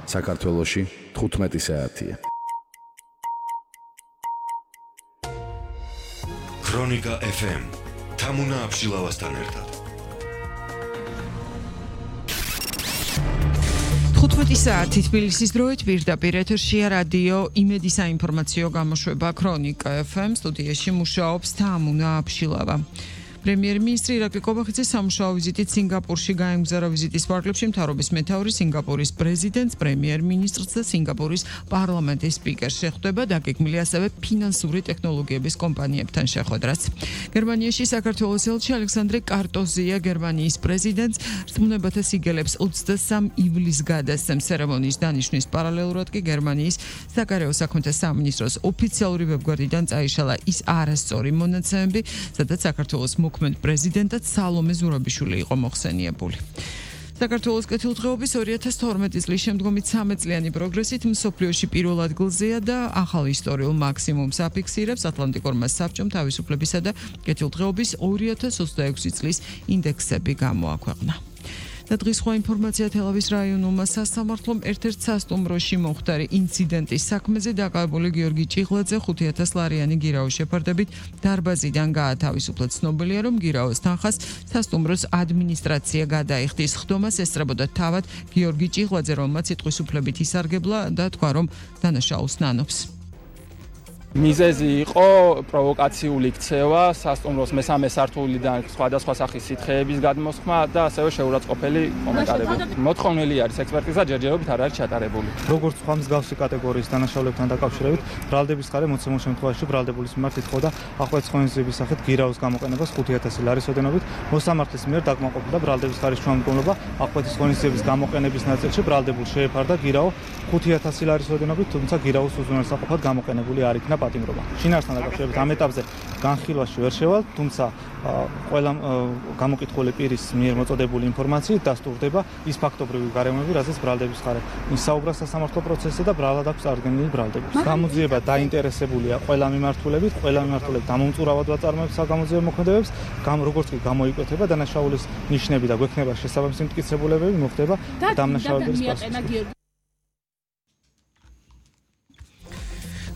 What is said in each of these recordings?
საქართველოში 15 საათია. ქრონიკა FM თამუნა აბშილავასთან ერთად. 15 საათი თბილისის დროით პირდაპირ ეთერშია რადიო იმედი საინფორმაციო გამოშვება ქრონიკა FM სტუდიაში მუშაობს თამუნა აბშილავა. პრემიერ-მინისტრი ირაკლი კობახიძე სამუშაო ვიზიტით სინგაპურში გაემგზავრა ვიზიტის პარკლებში მთავრობის მეთაური სინგაპურის პრეზიდენტს, პრემიერ-მინისტრს და სინგაპურის პარლამენტის სპიკერს შეხვდება, დაგეგმილია ასევე ფინანსური ტექნოლოგიების კომპანიებთან შეხვედრაც. გერმანიაში საქართველოს ელჩი ალექსანდრე კარტოზია გერმანიის პრეზიდენტს რწმუნებათა სიგელებს 23 ივლისს გადასცემს. ცერემონიის დანიშვნის პარალელურად კი გერმანიის საგარეო საქმეთა სამინისტროს ოფიციალური ვებგვერდიდან წაიშალა ის არასწორი მონაცემები, სადაც საქართველოს მოქმედ პრეზიდენტად სალომე ზურაბიშვილი იყო მოხსენიებული. საქართველოს კეთილდღეობის 2012 წლის შემდგომი 13 წლიანი პროგრესით მსოფლიოში პირველ ადგილზეა და ახალ ისტორიულ მაქსიმუმს აფიქსირებს ატლანტიკურმა საბჭომ თავისუფლებისა და კეთილდღეობის 2026 წლის ინდექსები გამოაქვეყნა. და დღის სხვა ინფორმაცია თელავის რაიონულმა სასამართლომ ერთ-ერთ სასტუმროში მომხდარი ინციდენტის საქმეზე დაკავებული გიორგი ჭიღლაძე 5,000 ლარიანი გირაოს შეფარდებით დარბაზიდან გაათავისუფლა. ცნობილია, რომ გირაოს თანხას სასტუმროს ადმინისტრაცია გადაიხდის. ხდომას ესწრებოდა თავად გიორგი ჭიღლაძე, რომელმაც სიტყვის უფლებით ისარგებლა და თქვა, რომ დანაშაულს ნანობს. მიზეზი იყო პროვოკაციული ქცევა, სასტუმროს მესამე სართულიდან სხვადასხვა სახის სითხეების გადმოსხმა და ასევე შეურაცხყოფელი კომენტარები. მოთხოვნილი არის ექსპერტიზა, ჯერჯერობით არ არის ჩატარებული. როგორც სხვა მსგავსი კატეგორიის დანაშაულებთან დაკავშირებით, ბრალდების ხარე მოცემულ შემთხვევაში ბრალდებულის მიმართ ითხოვდა ახალ ცხონიზების სახით გირაოს გამოყენებას 5,000 ლარის ოდენობით. მოსამართლის მიერ დაკმაყოფილდა ბრალდების ხარის შუამდგომლობა, ახალ ცხონიზების გამოყენების ნაწილში ბრალდებულს შეეფარდა გირაო 5,000 ლარის ოდენობით, თუმცა გირაოს უზრუნველსაყოფად გამოყენებული არ იქნა პატიმრობა. შინაარსთან დაკავშირებით ამ ეტაპზე განხილვაში ვერ შევალ, თუმცა ყველა გამოკითხული პირის მიერ მოწოდებული ინფორმაციით დასტურდება ის ფაქტობრივი გარემოები, რაზეც ბრალდების ხარე ისაუბრა სასამართლო პროცესზე და ბრალად აქვს წარდგენილი ბრალდები. გამოძიება დაინტერესებულია ყველა მიმართულებით, დამომწურავად ვაწარმოებს საგამოძიებო მოქმედებებს, როგორც კი გამოიკვეთება დანაშაულის ნიშნები და გვექნება შესაბამისი მტკიცებულებები, მოხდება დამნაშავების პასუხი.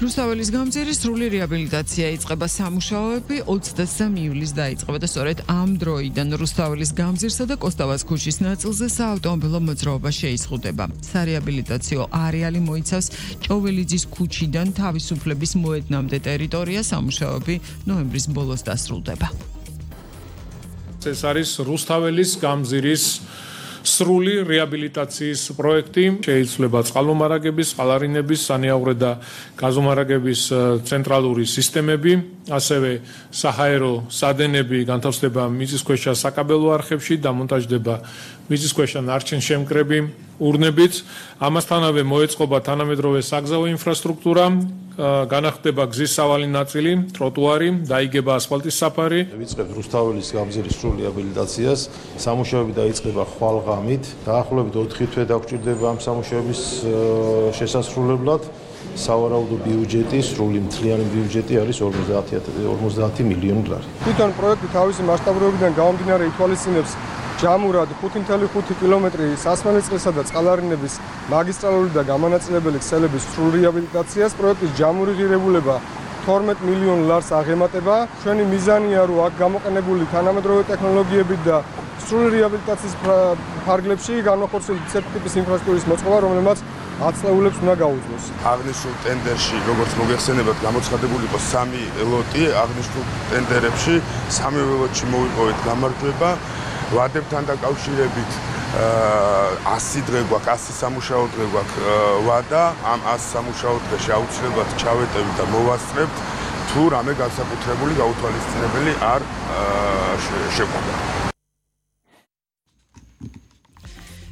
რუსთაველის გამზირის სრული რეაბილიტაცია იწყება. სამუშაოები 23 ივლისს დაიწყება და სწორედ ამ დროიდან რუსთაველის გამზირსა და კოსტავას ქუჩის ნაწილზე საავტომობილო მოძრაობა შეიზღუდება. სარეაბილიტაციო არეალი მოიცავს ჭოველიძის ქუჩიდან თავისუფლების მოედნამდე ტერიტორია. სამუშაოები ნოემბრის ბოლოს დასრულდება. ეს არის რუსთაველის გამზირის სრული რეაბილიტაციის პროექტი. შეიცვლება წყალმომარაგების, წყალარინების, სანიაღვრე და გაზომარაგების ცენტრალური სისტემები, ასევე საჰაერო სადენები განთავსდება მიწისქვეშა საკაბელო არხებში, დამონტაჟდება მიწისქვეშა ნარჩენშემკრები ურნებით. ამასთანავე მოეწყობა თანამედროვე საგზაო ინფრასტრუქტურა, განახდება გზის სავალი ნაწილი, ტროტუარი, დაიგება ასფალტის საფარი. ვიწყებთ რუსთაველის გამზირის სრულ რეაბილიტაციას. სამუშაოები დაიწყება ხვალღამით. დაახლოებით 4 თვე დაგჭირდება ამ სამუშაოების შესასრულებლად. სავარაუდო ბიუჯეტი, სრული მთლიანი ბიუჯეტი არის 50 მილიონი ლარი. თვითონ პროექტი თავისი მასშტაბურობიდან გამომდინარე ითვალისწინებს ჯამურად 5.5 კილომეტრი სასმელისწყლისა და წყალარინების მაგისტრალური და გამანაწილებელი ქსელების სრულ რეაბილიტაციას. პროექტის ჯამური ღირებულება 12 მილიონ ლარს აღემატება. ჩვენი მიზანია, რომ აქ გამოყენებული თანამედროვე ტექნოლოგიები და სრული რეაბილიტაციის ფარგლებში განახორციელოს ცერტ ტიპის ინფრასტრუქტურის მოწყობა, რომელმაც 10 წლეულებს უნდა გაუძლოს. აღნიშნულ ტენდერში, როგორც მოგეხსენებათ, გამოცხადებული იყო 3 ლოტი. აღნიშნულ ტენდერებში 3 ლოტში მოვიპოვეთ გამარჯვება. ვადებთან დაკავშირებით 100 დღე გვაქვს, 100 სამუშაო დღე გვაქვს ვადა. ამ 100 სამუშაო დღეში აუცილებლად ჩავეტევით და მოვასწრებთ, თუ რამე განსაკუთრებული გაუთვალისწინებელი არ შეგვიძლია.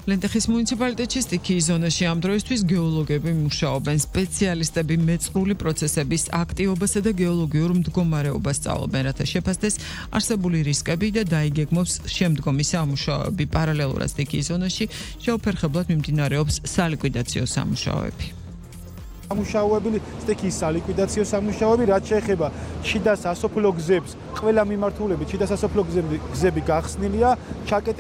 ლენტეხის მუნიციპალიტეტში სტიქიის ზონაში ამ დროისთვის გეოლოგები მუშაობენ. სპეციალისტები მეწყრული პროცესების აქტივობასა და გეოლოგიურ მდგომარეობას სწავლობენ, რათა შეფასდეს არსებული რისკები და დაიგეგმოს შემდგომი სამუშაოები. პარალელურად სტიქიის ზონაში შეუფერხებლად მიმდინარეობს სალიკვიდაციო სამუშაოები. სამუშაოები სტიქიის სალიკვიდაციო სამუშაოები, რაც შეეხება შიდა სასოფლო გზებს, ყველა მიმართულებით შიდა სასოფლო გზები გახსნილია, ჩაკეტილი